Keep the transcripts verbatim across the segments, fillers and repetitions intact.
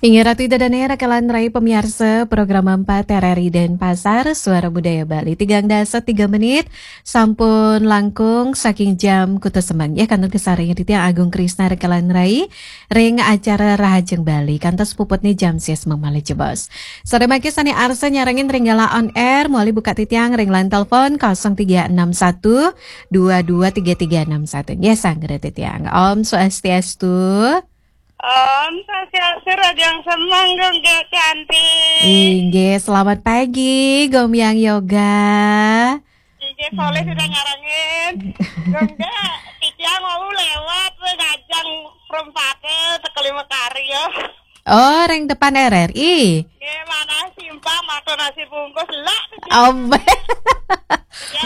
Inggih Ratu Ida Dane, rakalan rai pamiarsa program empat R R I Denpasar, Suara Budaya Bali. Tigang dasa tiga menit, sampun langkung saking jam kutus semeng. Ya, kantun kasarengin titiang Agung Krisna rakalan rai, ring acara Rahajeng Bali. Kantos puputne jam sia semeng malih jebos. Sore mangke sane arsa nyarengin ring galah on air, mawali buka titiang ring line telepon kosong tiga enam satu dua dua tiga tiga enam satu. Nggih, sanggra titiang. Om Swastiastu. Om Swastiastu, Rahajeng Semeng, Gung Gek cantik. Inggih, selamat pagi, Gomyang Yoga. Inggih, Soleh sudah nyarengin. Gung Gek, titiang mau lewat, weh, ngajeng perempatan sekali makarya. Oh, ring depan R R I. Nggih, manah simpang, matur nasi bungkus, lah. Om.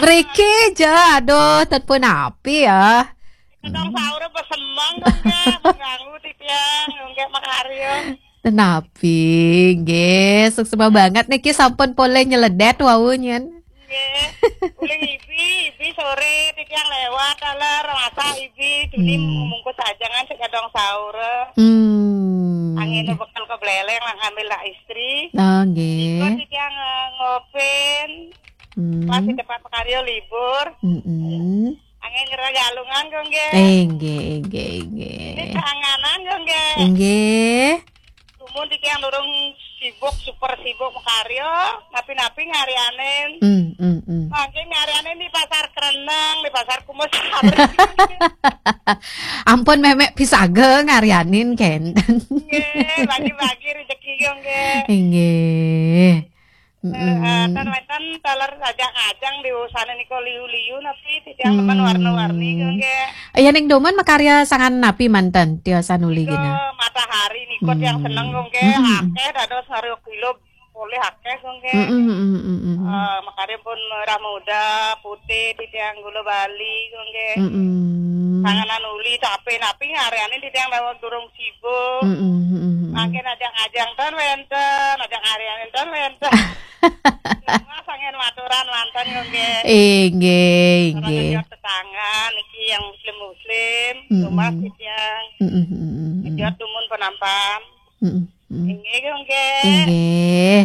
Mriki ja, aduh, ten punapi ya. Kadang sahur apa semeng, Gung Gek, mengganggu titiang, Gung Gek makarya. Tenapi, nggih, suksma banget niki sampun polih nyeledet wau nyen. Nggih. Uling ibi, ibi sore titiang lewat, taler, rasa ibi, duni Hmm. membungkus ajangan sik kadang sahur. Hmm. Angin bekal ke beleleng, lah ngambil lah istri. Oh, nggih. Ikut titiang, eh, ngopin, Hmm. pas di tempat makarya libur. Mm-mm. Angin nyerah galungan, Gung Gek. Inggih, inggih, inggih. Ini kanganan, Gung Gek. Inggih. Dumun titiang durung sibuk, super sibuk makarya, napi-napi ngarianin. Hmm, hmm, hmm. Mangke ngarianin di Pasar Kereneng, di Pasar Kumusari. Ampun, memek pisaga ngarianin kenten. Nggih, bagi-bagi rezeki, Gung Gek. Inggih. Eh, Mm-mm. eh, ten wenten taler ajang-ajang di usana nika liu-liu napi titiang teman Hmm. warna-warni, Gung Gek. Ya, ning dumun makarya sangan napi manten tiosan uli Nika gina? Matahari nika tiang Hmm. seneng, Gung Gek. Mm-mm. Akeh dados ngaruh kilo polih akeh, Gung Gek. Mm-mm, mm-mm, mm-mm. Eh, makarya pun merah muda, putih, titiang gula Bali, Gung Gek. Mm-mm. Sanganan uli, tapi napi ngarianin titiang daweg durung sibuk. Mm-mm, mm-mm, mm-mm. Mangkin ajang-ajang ten wenten, ajang ngarianin ten wenten. Cuma sangen maturan manten, Gung Gek. Inggih, Orang inggih. Ngejot tetangga, niki yang muslim-muslim, Mm-mm. rumah titiang. Mm-mm, mm-mm, mm-mm. Ngejot dumun penampan. Mm-mm, mm-mm. Inggih, Gung Gek. Inggih.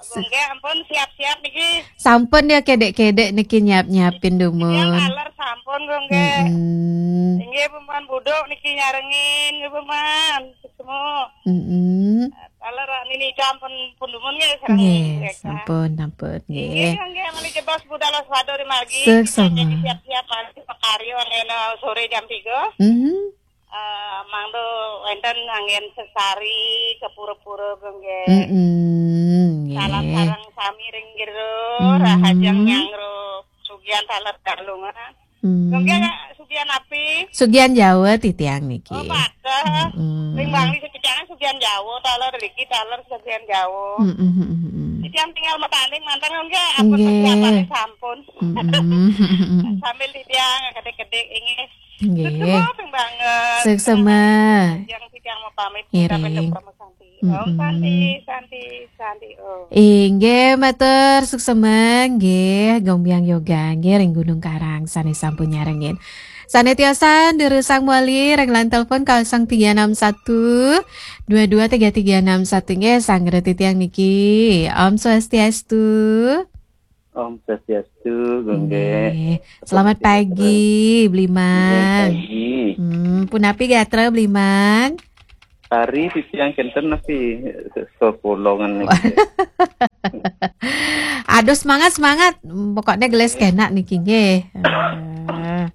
Gung Gek, ampun, siap-siap niki. Sampun ya, kedek-kedek niki nyiap-nyiapin dumun. Yang aler sampun, Gung Gek. Mm-mm. Inggih, Peman buduk niki nyarengin, nggih, Peman. Semua. Mm-mm. Aler nini jam pun, pun dumun nggih, sareng Nggih, Gung Gek, sampun, sampun, Inggih, nggih. Gung Gek, mali jebos budal waspada di margi. Suksma. Kita jadi siap-siap mali pakarya ngena sore jam tiga. Mm-hmm. Eh, mangda wenten anggen sesari ke pura-pura, Gung Gek. Mm-mm, nggih. Salam sareng sami ring jero, Mm-mm. Rahajeng nyangro, sugihan taler kalungan. Mm. Gung Gek, sugihan api? Sugihan Jawa titiang niki. Oh, pateh. Mm-mm. Ring Bangli sekicangan sugihan Jawa, taler riki, taler sugihan Jawa. Mm-mm, mm-mm. Titiang tinggal matanding manten, Gung Gek, apa Nggih. Persiapane sampun. Mm-mm. Sambil titiang kedik-kedik, inggih. Nggih. Suksma, ping banget. Suksma. Yang titiang mau pamit, Ngiring. Sampai ketemu Santi. Om Mm-mm. Santi, Santi, Santi, Om. Inggih, matur suksma, nggih, Gombyang Yoga, nggih, ring Gunung Karang, sane sampun nyarengin. Sane tiosan, durusang mawali, ring line telepon kosong tiga enam satu dua dua tiga tiga enam satu, nggih, sanggra titiang niki. Om Swastiastu. Om Swastiastu, Gung Gek. Nggih. Selamat pagi, Blimang. Nggih, pagi. Hmm, punapi gatra, Blimang? Tari titiang kenten napi sekolongan niki. Aduh, semangat, semangat. Pokoknya gelis kenak niki, nggih. Eh.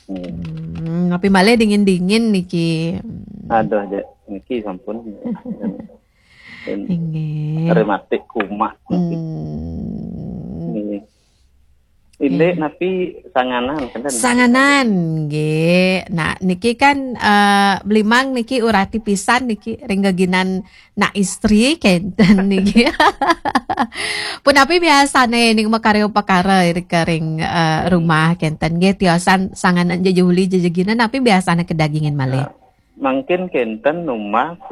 Hmm, napi malih dingin-dingin niki. Aduh, Dek, niki sampun. Inggih. Rematik kumat. Hmm. Inggih. Indik napi sanganan, kenten? Sanganan, nggih. Nah, niki kan, eh, Blimang niki urati pisan niki ring geginan nak istri kenten niki. Punapi biasane ning makarya pakara ring, eh, rumah kenten nggih, tiosan sanganan jejuli jejeginan, napi biasane kedagingan malih? Nah, mangkin kenten numbas,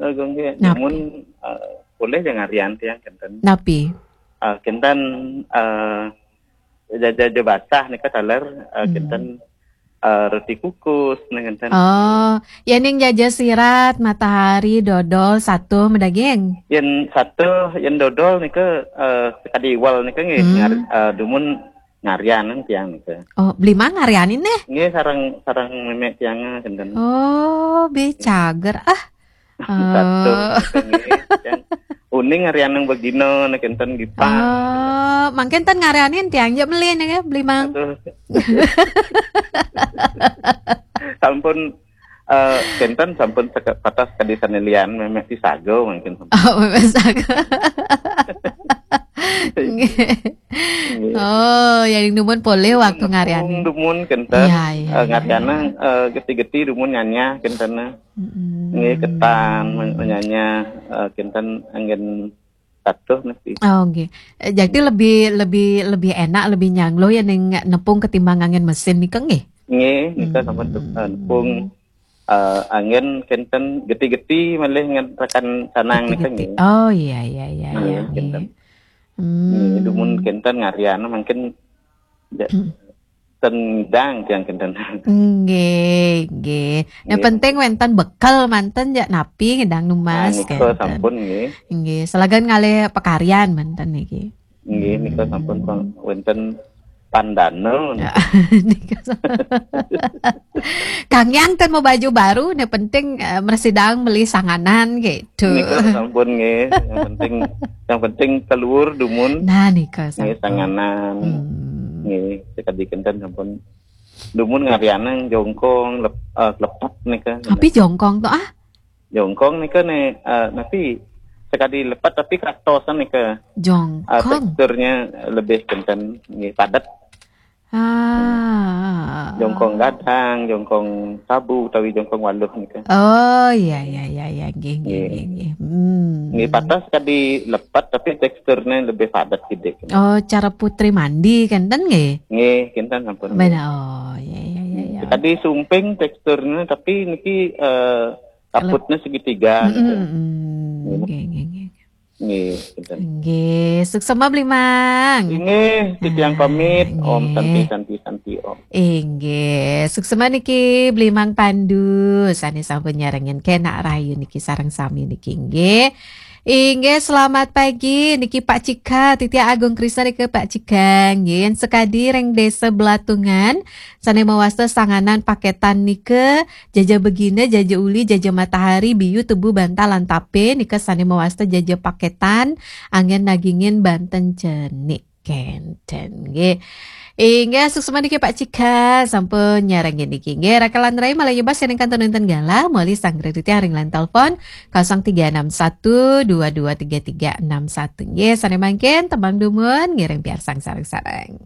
eh, Gung Gek. Napi? Namun, eh, polih jang ngarian tiang kenten. Napi? Eh, kenten, eh, jaja basah nika taler, eh, Hmm. kenten, eh, roti kukus, nah, ngénten. Oh, ya ning jaja sirat, matahari, dodol, satuh, medaging. Yén satuh, yén dodol nika, eh, sekadi iwal nika nggih, Hmm. ngar- eh, dumun ngarianan tiang nika. Oh, beli mang ngarianin nih. Nggih, sareng, sareng mémé tiang, eh, ngénten. Oh, bicager ah. Satuh, Oh. nggih, tiang. Uning ngarianan begina, nah, ngénten gipang. Oh, mangkin ten ngarianin tiang ja beli nih, beli mang. Aduh. Sampun, eh, ngénten sampun seke- patas kadi sané lian, mémé ti saga mangkin. Oh, mémé saga. Nggih. Nggih. Oh, ya ning dumun polih waktu ngarianin. Dumun ngénten. Iya, iya, Eh, iya, ngarianan, eh, geti-geti dumun nyanyah ngénten. Mm-mm. Nggih, ketan men- nyanyah, eh, ngénten anggén satuh nasi. Oh, nggih. Eh, jadi lebih lebih lebih enak, lebih nyanglo ya ning nepung ketimbang anggén mesin nika nggih. Nggih, nika sampun, eh, nepung, eh, anggén ngénten geti-geti malih ngénten rakan sanang nika Geti-geti. Nggih. Oh, iya iya iya Nah, iya ngénten. Nggih. Hmm. Nggih, dumun ngénten ngarian mangkin ja- Hmm. ten ngidang tiang ngénten. Nggih, nggih. Yang Nggih. Penting wénten bekel manten ja napi ngidang Nah, numbas nika ngénten. Sampun nggih. Nggih, salagan ngalih pakaryan manten niki. Nggih, nika sampun pang- wénten pandana. Ya, nika sa- Kang Yang ten mau baju baru, yang penting, eh, mresidang meli sanganan gitu. Nika sampun nggih. Yang penting, yang penting keluar dumun. Nah, nika Nggih, sampun. Sanganan. Hmm. Nggih, sekadi ngénten sampun. Dumun ngarianang jongkong lep, eh, lepet nika. Tapi jongkong tuh ah. Jongkong nika nih, eh, napi sekadi lepet tapi katosan nika. Eh, Jongkong. Teksturnya lebih ngénten, nggih, padat. Ah. Jongkong gadang, jongkong sabu, utawi jongkong waluh nika. Oh, iya iya iya iya, nggih nggih Nggih. Nggih nggih. Hmm. Nggih, patas sekadi lepet tapi teksturnya lebih padat kidik. Oh, cara putri mandi kan ten nggih. Nggih, ngénten sampun. Benar. Oh, iya iya iya iya. Sekadi sumping teksturnya tapi niki, eh, kaputnya segitiga. Mm-mm, Nggih. mm-mm. Nggih nggih nggih. Nggih, ngénten. Nggih, suksema Bli Mang. Inggih, titiang pamit. Om Nggih. Santi, Santi, Santi, Om. Inggih, suksema niki Bli Mang Pandu sané sampun nyarengin kenak rahayu niki sareng sami niki nggih. Inggih, selamat pagi niki Pak Cika, Titi Agung Krisna niki Pak Cika nggih. Yén sekadi ring Desa Belatungan sané mawasta sanganan paketan nika, jaja begina, jaja uli, jaja matahari, biu, tebu, bantal lan tapé nika sané mawasta jaja paketan anggén nagingin banten cenik. Kénten nggih. Inggih, suksema niki Pak Cika sampun nyarengin niki. Nggih, raka lan rai malih nyebas yen ingkang ten wénten galah, malih sanggra titiang ring line telepon kosong tiga enam satu dua dua tiga tiga enam satu. Nggih, sané mangkin tembang dumun ngiring piarsang sareng-sareng.